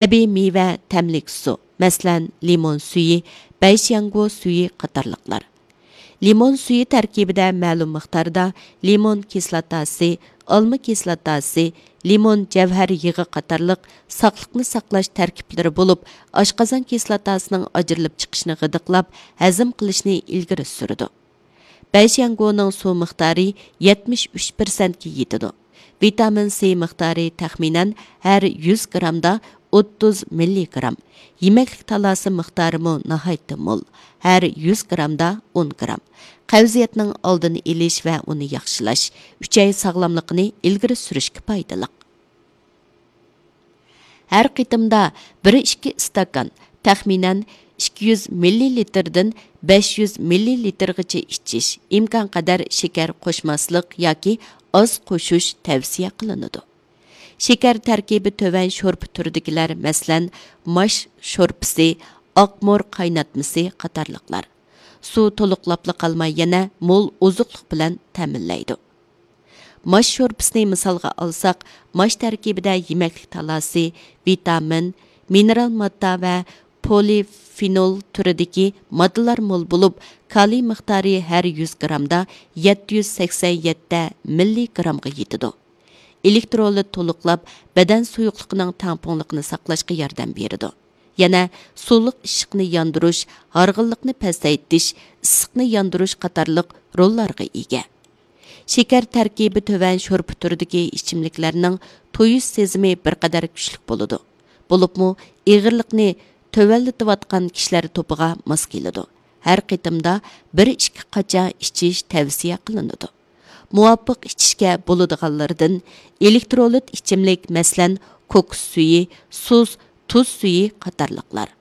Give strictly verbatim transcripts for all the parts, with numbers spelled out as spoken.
تەبىئىي مېۋە تەملىك سۇ، مەسىلەن، لىمون سۈيى، بەيشياڭگو سۈيى قاتارلىقلار. لىمون سۈيى تەركىبىدە مەلۇم مىقداردا لىمون كىسلاتاسى، ئالما كىسلاتاسى، لىمون جەۋھەر يېغى قاتارلىق ساقلىقنى ساقلاش تەركىبلىرى بولۇپ، ئاشقازان كىسلاتاسىنىڭ ئاجرىلىپ چىقىشىنى غىدىقلاپ، ھەزىم قىلىشنى ئىلگىرى سۈرىدۇ. بەيشياڭگونىڭ سۇ مىقدارى يەتمىش ئۈچ پىرسەنتكە يېتىدۇ. ۋىتامىن سى مىقدارى تەخمىنەن ھەر يۈز گرامدا ئوتتۇز مىللىگرام. يېمەكلىك تالاسى مىقدارىمۇ ناھايىتى مول، ھەر يۈز گرامدا ئون گرام. قەۋزىيەتنىڭ ئالدىنى ئېلىش ۋە ئۇنى ياخشىلاش، ئۈچەي ساغلاملىقىنى ئىلگىرى سۈرۈشكە پايدىلىق. ھەر قېتىمدا بىر ئىككى ئىستاكان، تەخمىنەن ئىككى يۈز مىللىلىتىردىن بەش يۈز مىللىلىتىرغىچە ئىچىش، ئىمكانقەدەر شېكەر قوشماسلىق ياكى ئاز قوشۇش تەۋسىيە قىلىنىدۇ. شېكەر تەركىبى تۆۋەن شورپا تۈرىدىكىلەر، مەسىلەن، ماش شورپىسى، ئاقمۇر قايناتمىسى قاتارلىقلار. سۇ تولۇقلاپلا قالماي، يەنە مول ئوزۇقلۇق بىلەن تەمىنلەيدۇ. ماش شورپىسىنى مىسالغا ئالساق، ماش تەركىبىدە يېمەكلىك تالاسى، ۋىتامىن، مىنېرال ماددا ۋە پولىفېنول تۈرىدىكى ماددىلار مول بولۇپ، كالىي مىقدارى ھەر يۈز گرامدا يەتتە يۈز سەكسەن يەتتە مىللىگرامغا يېتىدۇ. ئېلېكترولىت تولۇقلاپ، بەدەن سۇيۇقلۇقىنىڭ تەڭپۇڭلۇقىنى ساقلاشقا ياردەم بېرىدۇ. يەنە سۇلۇق ئىششىقنى ياندۇرۇش، ھارغىنلىقنى پەسەيتىش، ئىسسىقنى ياندۇرۇش قاتارلىق روللارغا ئىگە. شېكەر تەركىبى تۆۋەن شورپا تۈرىدىكى ئىچىملىكلەرنىڭ تويۇش سېزىمى بىر قەدەر كۈچلۈك بولىدۇ. بولۇپمۇ ئېغىرلىقنى تۆۋەنلىتىۋاتقان كىشىلەر توپىغا ماس كېلىدۇ. ھەر قېتىمدا بىر ئىككى قاچا ئىچىش تەۋسىيە قىلىنىدۇ. مۇۋاپىق ئىچىشكە بولىدىغانلىرىدىن ئېلېكترولىت ئىچىملىك، مەسىلەن، كوكۇس سۈيى، سۇس، تۇز سۈيى قاتارلىقلار.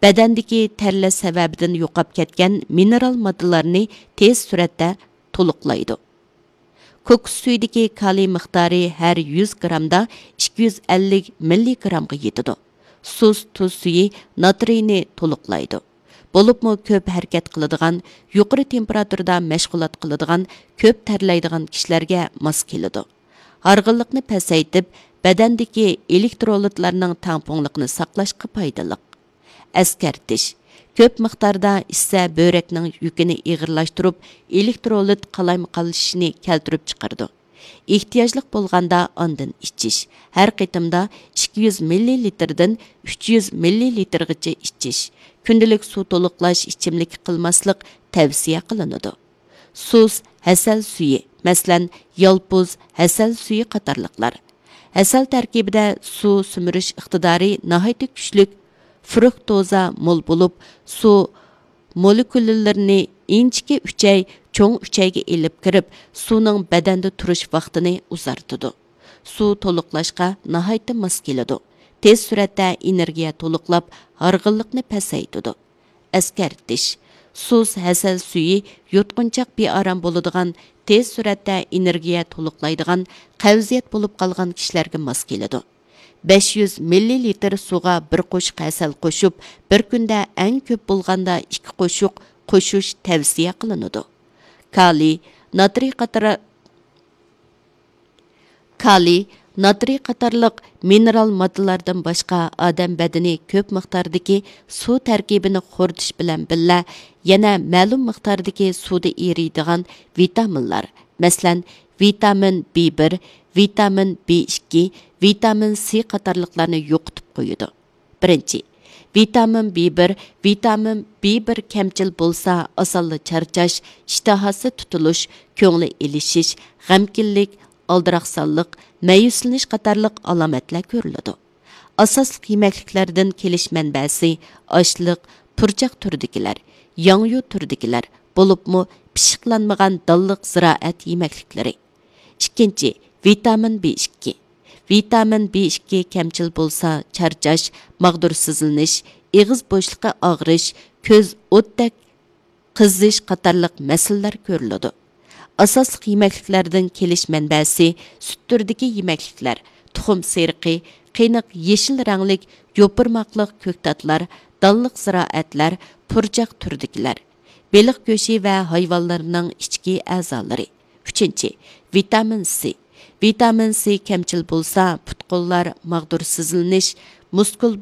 بەدەندىكى تەرلەش سەۋەبىدىن يوقاپ كەتكەن مىنېرال ماددىلارنى تېز سۈرئەتتە تولۇقلايدۇ. كوكۇس سۈيىدىكى كالىي مىقدارى ھەر يۈز گرامدا ئىككى يۈز ئەللىك مىللىگرامغا يېتىدۇ. سۇس تۇز سۈيى ناترىينى تولۇقلايدۇ. بولۇپمۇ كۆپ ھەرىكەت قىلىدىغان، يۇقىرى تېمپېراتۇرىدا مەشغۇلات قىلىدىغان، كۆپ تەرلەيدىغان كىشىلەرگە ماس كېلىدۇ. ھارغىنلىقنى پەسەيتىپ، بەدەندىكى ئېلېكترولىتلارنىڭ تەڭپۇڭلۇقىنى ساقلاشقا پايدىلىق. ئەسكەرتىش: كۆپ مىقداردا ئىچسە، بۆرەكنىڭ يۈكىنى ئېغىرلاشتۇرۇپ، ئېلېكترولىت قالايمىقانلىشىشنى كەلتۈرۈپ چىقىرىدۇ. ئېھتىياجلىق بولغاندا ئاندىن ئىچىش. ھەر قېتىمدا ئىككى يۈز مىللىلىتىردىن ئۈچ يۈز مىللىلىتىرغىچە ئىچىش. كۈندىلىك سۇ تولۇقلاش ئىچىملىكى قىلماسلىق تەۋسىيە قىلىنىدۇ. سۇس ھەسەل سۈيى، مەسىلەن، يالپۇز ھەسەل سۈيى قاتارلىقلار. ھەسەل تەركىبىدە سۇ سۈمۈرۈش ئىقتىدارى ناھايىتى كۈچلۈك، فرۇكتوزا مول بولۇپ، سۇ مولېكۇللىرىنى ئىنچىكە ئۈچەي، چوڭ ئۈچەيگە ئېلىپ كىرىپ، سۇنىڭ بەدەندە تۇرۇش ۋاقتىنى ئۇزارتىدۇ. سۇ تولۇقلاشقا ناھايىتى ماس كېلىدۇ. تېز سۈرئەتتە ئېنېرگىيە تولۇقلاپ، ھارغىنلىقنى پەسەيتىدۇ. ئەسكەرتىش: سۇس ھەسەل سۈيى يۇتقۇنچاق بىئارام بولىدىغان، تېز سۈرئەتتە ئېنېرگىيە تولۇقلايدىغان، قەۋزىيەت بولۇپ قالغان كىشىلەرگە ماس كېلىدۇ. بەش يۈز مىللىلىتىر سۇغا بىر قوشۇق ھەسەل قوشۇپ، بىر كۈندە ئەڭ كۆپ بولغاندا ئىككى قوشۇق قوشۇش تەۋسىيە قىلىنىدۇ. كالىي، ناترىي قاتارا-، كالىي، ناترىي قاتارلىق مىنېرال ماددىلاردىن باشقا، ئادەم بەدىنى كۆپ مىقداردىكى سۇ تەركىبىنى خورىتىش بىلەن بىللە، يەنە مەلۇم مىقداردىكى سۇدا ئېرىيدىغان ۋىتامىنلار، مەسىلەن، ۋىتامىن بى بىر، ۋىتامىن بى ئىككى، ۋىتامىن سى قاتارلىقلارنى يوقىتىپ قويىدۇ. بىرىنچى، ۋىتامىن بى بىر. ۋىتامىن بى بىر كەمچىل بولسا، ئاسانلا چارچاش، ئىشتىھاسى تۇتۇلۇش، كۆڭلى ئېلىشىش، غەمكىنلىك، ئالدىراقسانلىق، مەيۈسلىنىش قاتارلىق ئالامەتلەر كۆرۈلىدۇ. ئاساسلىق يېمەكلىكلەردىن كېلىش مەنبەسى: ئاشلىق، پۇرچاق تۈرىدىكىلەر، ياڭيۇ تۈرىدىكىلەر، بولۇپمۇ پىششىقلانمىغان دانلىق زىرائەت يېمەكلىكلىرى. ئىككىنچى، ۋىتامىن بى ئىككى. ۋىتامىن بى ئىككى كەمچىل بولسا، چارچاش، ماغدۇر سىزلىنىش، ئېغىز بوشلۇقى ئاغرىش، كۆز ئوتتەك قىزىش قاتارلىق مەسىلىلەر كۆرۈلىدۇ. ئاساسلىق يېمەكلىكلەردىن كېلىش مەنبەسى: سۈت تۈرىدىكى يېمەكلىكلەر، تۇخۇم سېرىقى، قېنىق يېشىل رەڭلىك يوپۇرماقلىق كۆكتاتلار، دانلىق زىرائەتلەر، پۇرچاق تۈرىدىكىلەر، بېلىق گۆشى ۋە ھايۋانلارنىڭ ئىچكى ئەزالىرى. ئۈچىنچى، ۋىتامىن سى. ۋىتامىن سى كەمچىل بولسا، پۇت-قوللار ماغدۇر سىزلىنىش، مۇسكۇل